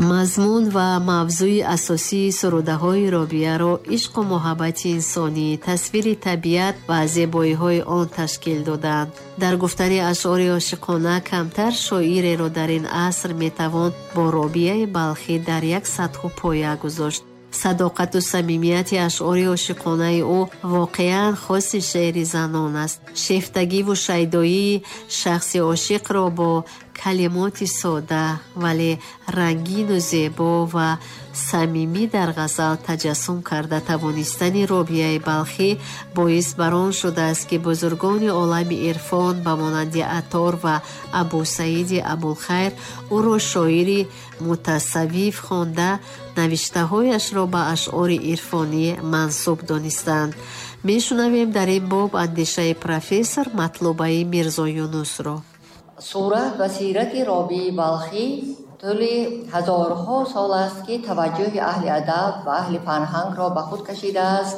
Мазмун ва мавзӯи асосии сурудаҳои Робияро ишқу муҳаббати инсонӣ, тасвири табиат ва зебоиҳои он ташкил доданд. Дар гуфтани ашъори ошиқона камтар шоиреро дар ин аср метавон бо Робияи Балхӣ дар як сатҳу поя гузошт. Садоқату самимияти ашъори ошиқонаи ӯ воқеан хоси шеъри занон аст. Шефтагиву шайдоии шахси ошиқро бо калимоти сода, вале рангину зебо ва самимӣ дар ғазал таҷассум карда тавонистани Робияи Балхӣ боис бар он шудааст, ки бузургони олами ирфон ба монанди Аттор ва Абусаиди Абулхайр ӯро шоири мутасаввиф хонда, навиштаҳояшро ба ашъори ирфонӣ мансуб донистанд. Мешунавем дар ин боб андешаи профессор Матлубаи Мирзоюнусро. Сурат ва сирати Робии Балхӣ тӯли ҳазорҳо сол аст, ки таваҷҷӯҳи аҳли адаб ва аҳли фарҳангро ба худ кашидааст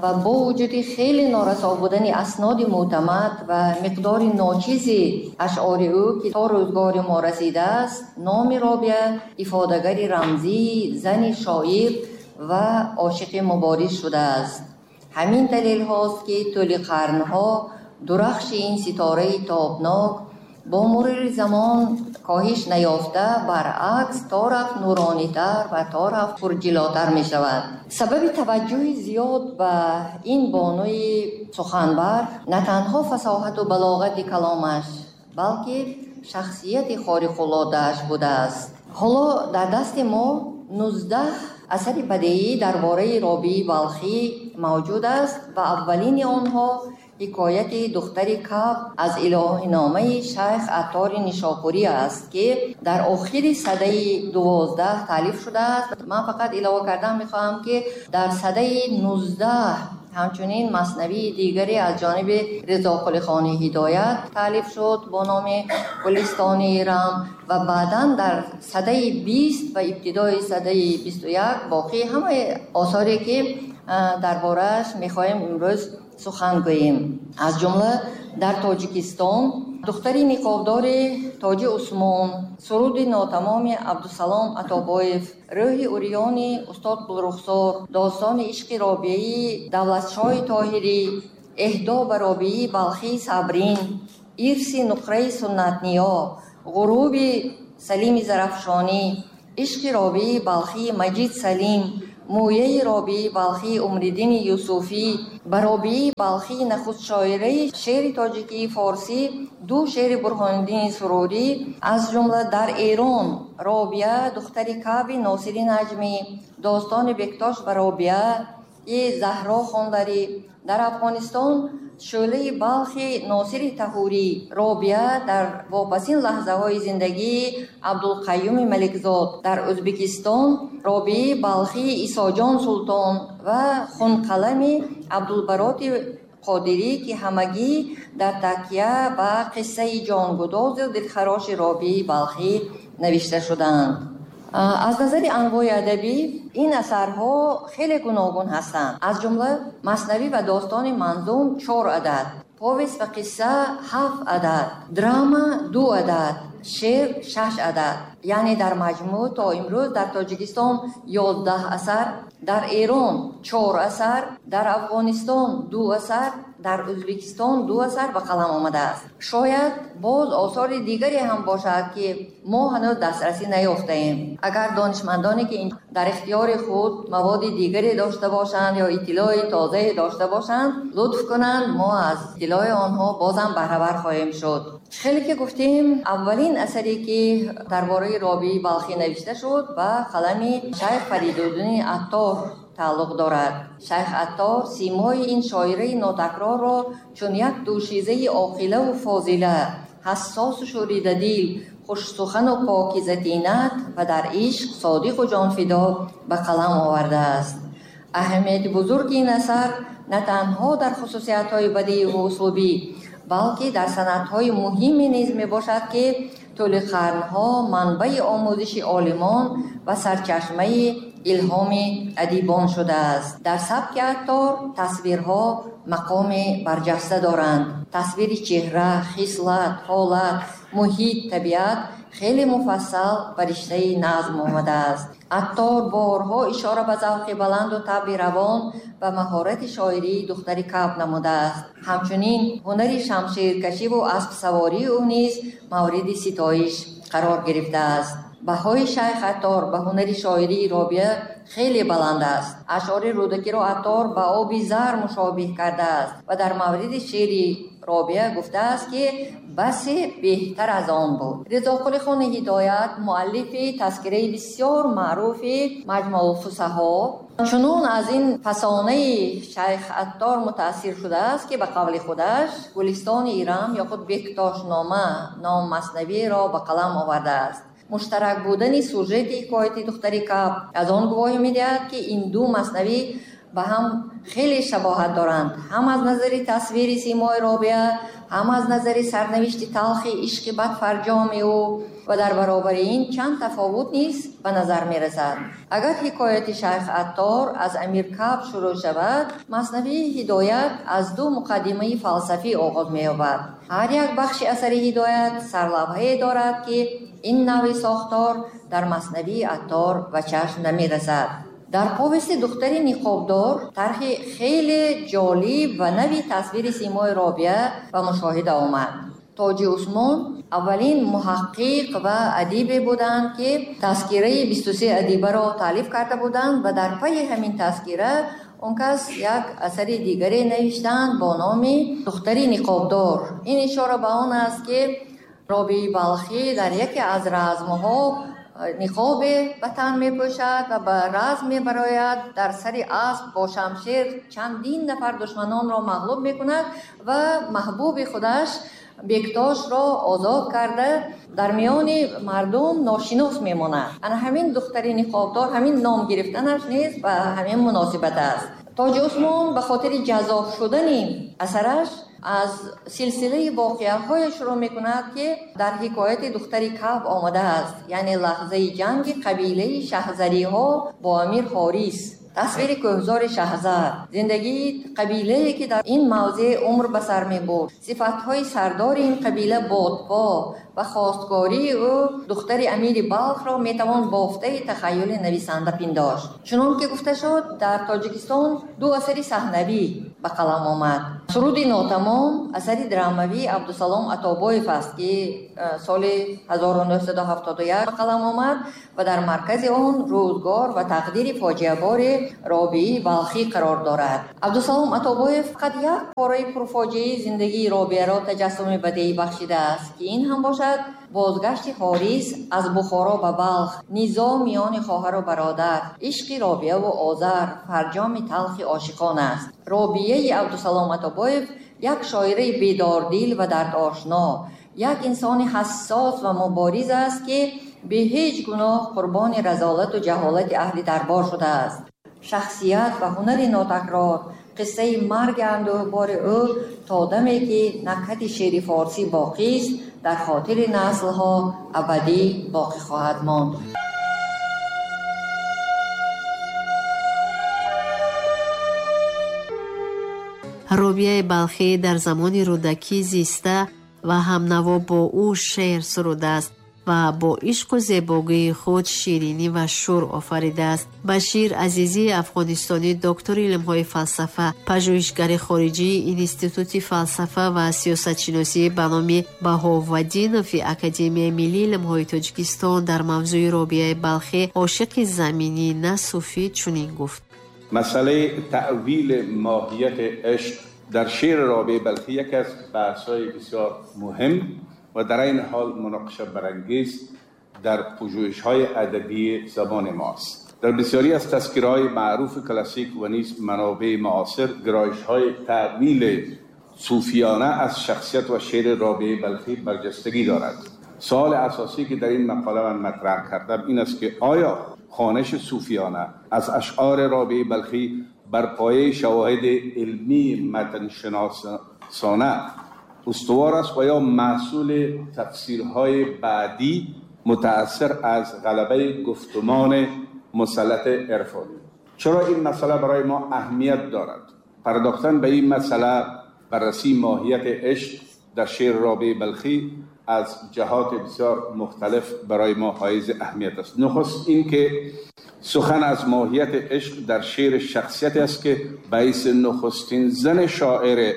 ва бо вуҷуди хеле норасо будани асноди мӯътамад ва миқдори ночизи ашъори ӯ, ки то рӯзгори мо расидааст, номи Робия ифодагари рамзии зани шоир ва ошиқи мубориз шудааст. Ҳамин далелҳост, ки тӯли қарнҳо дурахши ин ситораи тобнок бо мурури замон коҳиш наёфта, баръакс, то рафт нуронитар ва то рафт пурҷилотар мешавад. Сабаби таваҷҷӯҳи зиёд ба ин бонуи суханбар на танҳо фасоҳату балоғати каломаш, балки шахсияти хориқулодааш будааст. Ҳоло дар дасти мо 19 асари бадеӣ дар бораи Робии Балхӣ мавҷуд аст ва аввалини онҳо ҳикояти духтари Каб аз илоҳиномаи шайх Аттори Нишопурӣ аст, ки дар охири садаи 12 таълиф шудааст. Ман фақат илова кардан мехоҳам, ки дар садаи 19 ҳамчунин маснавии дигаре аз ҷониби Ризоқулихони Ҳидоят таълиф шуд бо номи Гулистони Ирам ва баъдан дар садаи 20 ва ибтидои садаи 21 боқӣ ҳамаи осоре, ки дар борааш мехоҳем имрӯз сухан гӯем. Аз ҷумла дар Тоҷикистон духтари ниқобдори Тоҷи Усмон, суруди нотамоми Абдусалом Атобоев, рӯҳи урёни устод Гулрухсор, достони ишқи Робиаи Давлатшоҳи Тоҳирӣ, эҳдо ба Робии Балхии Сабрин, ирси нуқраи Суннатниё, ғуруби Салими Зарафшонӣ, ишқи Робии Балхии Маҷид Салим, мӯяи Робии Балхии Умриддини Юсуфӣ, ба Робии Балхии нахустшоираи шеъри тоҷикии форсӣ ду шеъри Бурҳониддини Сурурӣ, аз ҷумла дар Эрон Робия духтари Каъби Носири Наҷмӣ, достони Бектош ба Робия и Заҳро Хондарӣ, дар Афғонистон шӯълаи Балхи Носири Таҳурӣ, Робия дар вопасин лаҳзаҳои зиндагии Абдулқаюми Маликзод, дар Ӯзбекистон Робии Балхии Исоҷон Султон ва хунқалами Абдулбароти Қодирӣ, ки ҳамагӣ дар такя ба қиссаи ҷонгудозу дилхароши Робии Балхӣ навишта шудаанд. Аз назари анвои адабӣ ин асарҳо хеле гуногун ҳастанд. Аз ҷумла маснавӣ ва достони манзум 4 адад, повест ва қисса 7 адад, драма 2 адад, шеър 6 адад. Яъне дар маҷмӯъ то имрӯз дар Тоҷикистон 11 асар, дар Эрон 4 асар, дар Афғонистон 2 асар, дар Ӯзбекистон 2 асар ба қалам омадааст. Шояд боз осори дигаре ҳам бошад, ки мо ҳанӯз дастрасӣ наёфтаем. Агар донишмандоне, ки дар ихтиёри худ маводи дигаре дошта бошанд ё иттилои тозае дошта бошанд, лутф кунанд, мо аз иттилои онҳо бозам баҳравар хоҳем шуд. Хеле ки гуфтем, аввалин асаре, ки дар бораи Робии Балхӣ навишта шуд, ба қалами шайх Фаридуддини Аттор тааллуқ дорад. Шайх Аттор симои ин шоираи нотакрорро чун як дӯшизаи оқилаву фозила, ҳассосу шӯридадил, хушсухану покизатинат ва дар ишқ содиқу ҷонфидо ба қалам овардааст. Аҳамияти бузурги ин асар на танҳо дар хусусиятҳои бадеиву услубӣ, балки дар санадҳои муҳиме низ мебошад, ки тӯли қарнҳо манбаи омӯзиши олимон ва сарчашмаи илҳоми адибон шудааст. Дар сабки Аттор тасвирҳо мақоми барҷаста доранд. Тасвири чеҳра, хислат, ҳолат, муҳит, табиат хеле муфассал ба риштаи назм омадааст. Аттор борҳо ишора ба завқи баланду табъи равон ва маҳорати шоирии духтари Каб намудааст. Ҳамчунин ҳунари шамширкашиву аспсавории ӯ низ мавриди ситоиш қарор гирифтааст. Баҳои Шайх Аттор ба ҳунари шоирии Робиа хеле баланд аст. Ашъори Рӯдакиро Аттор ба оби зар мушобиҳ кардааст ва дар мавриди шеъри Робиа гуфтааст, ки басе беҳтар аз он буд. Ризоқули хони Ҳидоят, муаллифи тазкираи бисёр маъруфи Маҷмаъулфусаҳо, чунон аз ин фасонаи Шайх Аттор мутаассир шудааст, ки ба қавли худаш Гулистони Ирам ё худ Бектошнома ном маснавиро ба қалам овардааст. Муштарак будани сюжети ҳикояти духтари Каб аз он гувоҳӣ медиҳад, ки ин ду маснавӣ ба ҳам хеле шабоҳат доранд, ҳам аз назари тасвири симои Робиа, ҳам аз назари сарнавишти талхи ишқи бадфарҷоми ӯ, ва дар баробари ин чанд тафовут низ ба назар мерасад. Агар ҳикояти Шайх Аттор аз Амир Каб шурӯъ шавад, маснавии Ҳидоят аз ду муқаддимаи фалсафӣ оғоз меёбад. Ҳар як бахши асари Ҳидоят сарлавҳае дорад, ки ин навъи сохтор дар маснавии Аттор ба чашм намерасад. Дар повести духтари ниқобдор тарҳи хеле ҷолиб ва нави тасвири симои Робиа ба мушоҳида омад. Тоҷи Усмон аввалин муҳаққиқ ва адибе буданд, ки тазкираи 23 адибаро таълиф карда буданд ва дар пайи ҳамин тазкира он кас як асари дигаре навиштанд бо номи духтари ниқобдор. Ин ишора ба он аст, ки Робии Балхӣ дар яке аз размҳо ниқобе ба тан мепӯшад ва ба разм мебарояд. Дар сари асп бо шамшер чандин нафар душманонро мағлуб мекунад ва маҳбуби худаш Бектошро озод карда дар миёни мардум ношинос мемонад. Ана ҳамин духтари ниқобдор, ҳамин ном гирифтанаш низ ба ҳамин муносибат аст. Тоҷи Усмон ба хотири ҷазоб шудани асараш аз силсилаи воқеаҳое шурӯъ мекунад, ки дар ҳикояти духтари Каб омадааст, яъне лаҳзаи ҷанги қабилаи шаҳзариҳо бо амир Ҳорис, тасвири кӯҳзори Шаҳзар, зиндагии қабилае, ки дар ин мавзеъ умр ба сар мебурд, сифатҳои сардори ин қабила Бодпо ва хостгории ӯ духтари амири Балхро метавон бофтаи тахайюли нависанда пиндошт. Чунон ки гуфта шуд, дар Тоҷикистон ду асари саҳнавӣ ба қалам омад. Суруди нотамом асари драмавии Абдусалом Атобоев аст, ки соли 1971 ба қалам омад ва дар маркази он рӯзгор ва тақдири фоҷиабори Робии Балхӣ қарор дорад. Абдусалом Атобоев фақат як пораи пурфоҷиаи зиндагии Робиаро таҷассуми бадеӣ бахшидааст, ки ин ҳам бошад бозгашти Ҳорис аз Бухоро ба Балх, низоъ миёни хоҳару бародар, ишқи Робиаву Озар, фарҷоми талхи ошиқон аст. Робияи Абдусалом Атобоев як шоираи бедордил ва дардошно, як инсони ҳассос ва мубориз аст, ки бе ҳеҷ гуноҳ қурбони разолату ҷаҳолати аҳли дарбор шудааст. Шахсият ва ҳунари нотакрор, қиссаи марги андӯҳбори ӯ то даме, ки накҳати шеъри форсӣ боқист, дар хотири наслҳо абадӣ боқӣ хоҳад монд. Робияи Балхӣ дар замони Рӯдакӣ зиста ва ҳамнаво бо ӯ шеър сурудааст ва бо ишқу зебогии худ ширинӣ ва шӯр офаридааст. Башир Азизии афғонистонӣ, доктори илмҳои фалсафа, пажӯҳишгари хориҷии Институти фалсафа ва сиёсатшиносӣ ба номи Баҳоваддинови Академияи миллии илмҳои Тоҷикистон дар мавзӯи Робияи Балхӣ ошиқи заминӣ на суфӣ чунин гуфт. مسئله تأویل ماهیت عشق در شعر رابعه بلخی یکی از بحث‌های بسیار مهم و در این حال مناقشه برانگیز در پژوهش‌های ادبی زبان ماست. در بسیاری از تذکره‌های معروف کلاسیک و نیز منابع معاصر گرایش‌های تأویل صوفیانه از شخصیت و شعر رابعه بلخی برجستگی دارد. سوال اساسی که در این مقاله من مطرح کردم این است که آیا خوانش صوفیانه از اشعار رابعه بلخی بر پایه شواهد علمی متن شناسانه استوار است و یا محصول تفسیرهای بعدی متأثر از غلبه گفتمان مسلط عرفانی؟ چرا این مسئله برای ما اهمیت دارد؟ پرداختن به این مسئله، بررسی ماهیت عشق در شعر رابعه بلخی، از جهات بسیار مختلف برای ما حائز اهمیت است. نخست این که سخن از ماهیت عشق در شعر شخصیت است که باعث نخستین زن شاعر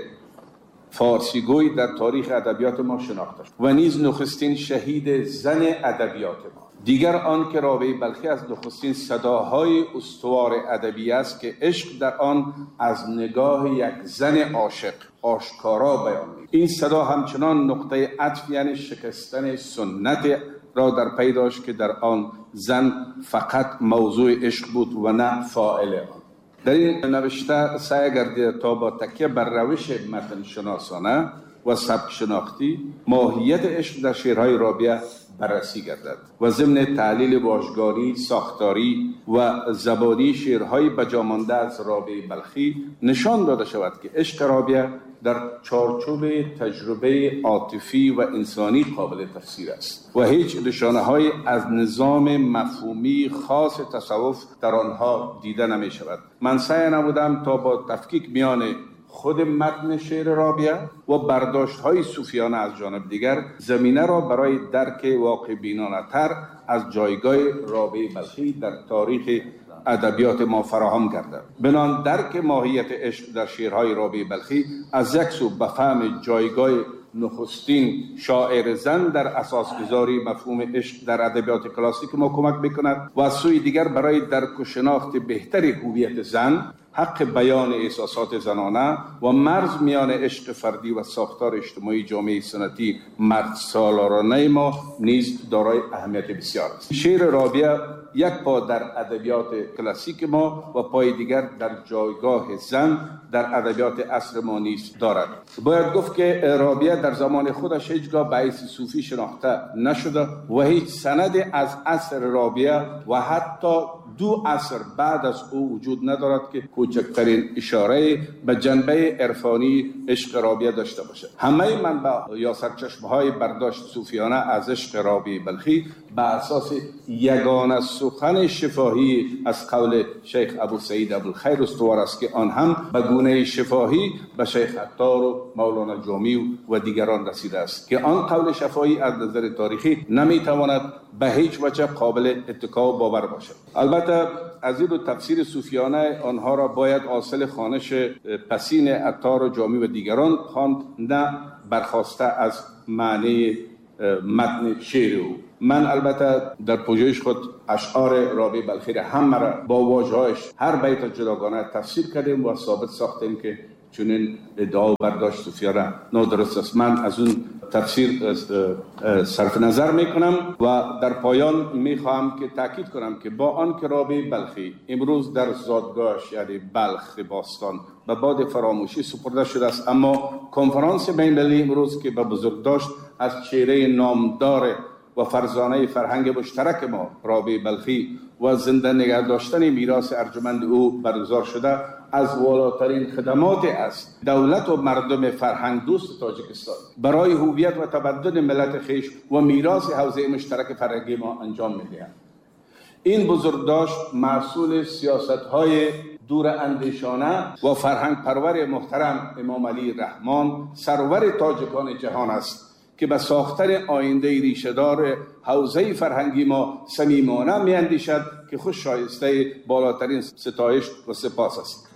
فارسیگوی در تاریخ ادبیات ما شناخته شد و نیز نخستین شهید زن ادبیات ما. دیگر آن که رابعه بلخی از نخستین صداهای استوار ادبی است که عشق در آن از نگاه یک زن عاشق آشکارا بیان می‌کند. این صدا همچنان نقطه عطف یعنی شکستن سنت را در پی داشت که در آن زن فقط موضوع عشق بود و نه فاعل آن. در این نوشته سعی گردیده تا با تکیه بر روش متن شناسانه و سبک شناختی ماهیت عشق در شعرهای رابعه بررسی گردد و ضمن تحلیل واژگانی، ساختاری و زبانی شعرهای بجامانده از رابعه بلخی نشان داده شود که عشق رابعه در چارچوب تجربه عاطفی و انسانی قابل تفسیر است و هیچ نشانه‌های از نظام مفهومی خاص تصوف در آنها دیده نمی شود. من سعی نمودم تا با تفکیک میان خود متن شعر رابعه و برداشت‌های صوفیانه از جانب دیگر زمینه را برای درک واقع بینانه تر از جایگاه رابعه بلخی در تاریخ ادبیات ما فراهم گردد. بنان درک ماهیت عشق در شعرهای رابعه بلخی از یک سو به فهم جایگاه نخستین شاعر زن در اساسگذاری مفهوم عشق در ادبیات کلاسیک ما کمک میکند و از سوی دیگر برای درک و شناخت بهتر هویت زن، حق بیان احساسات زنانه و مرز میان عشق فردی و ساختار اجتماعی جامعه سنتی مرد سالارانه ما نیز دارای اهمیت بسیار است. شعر رابعه یک پا در ادبیات کلاسیک ما و پای دیگر در جایگاه زن در ادبیات عصر ما نیز دارد. باید گفت که رابعه در زمان خودش هیچگاه به حیث صوفی شناخته نشده و هیچ سند از عصر رابعه و حتی 2 عصر بعد از او وجود ندارد که کوچکترین اشاره به جنبه عرفانی عشق رابعه داشته باشد. همه منبع یا سرچشمه‌های برداشت صوفیانه از عشق رابعه بلخی به اساس یگانه سخن شفاهی از قول شیخ ابو سعید ابوالخیر استوار است که آن هم به گونه شفاهی به شیخ عطار و مولانا جامی و دیگران رسیده است که آن قول شفاهی از نظر تاریخی نمیتواند به هیچ وجه قابل اتکا و باور باشد. البته از این تفسیر صوفیانه آنها را باید حاصل خوانش پسین عطار و جامی و دیگران خواند، نه برخواسته از معنی متن شعر او. من البته در پژوهش خود اشعار رابعه بلخی را هم را با واژه‌هایش هر بیت جداگانه تفسیر کردیم و ثابت ساختیم که چنین ادعا و برداشت صوفیانه نادرست است. من از اون تفسیر صرف نظر میکنم و در پایان میخواهم که تاکید کنم که با آن که رابعه بلخی امروز در زادگاهش یعنی بلخ باستان به باد فراموشی سپرده شده است، اما کنفرانس بین‌المللی امروز که به بزرگداشت از چهره نامدار و فرزانه فرهنگ مشترک ما رابعه بلخی و زنده نگه داشتن میراث ارجمند او برگزار شده، از والاترین خدمات است دولت و مردم فرهنگ دوست تاجیکستان برای هویت و تمدن ملت خویش و میراث حوزه مشترک فرهنگی ما انجام می‌دهند. این بزرگداشت محصول سیاست‌های دور اندیشانه و فرهنگ پرور محترم امام علی رحمان سرور تاجیکان جهان است که به ساختن آینده ریشه‌دار حوزه فرهنگی ما صمیمانه می‌اندیشد که خوش شایسته بالاترین ستایش و سپاس است.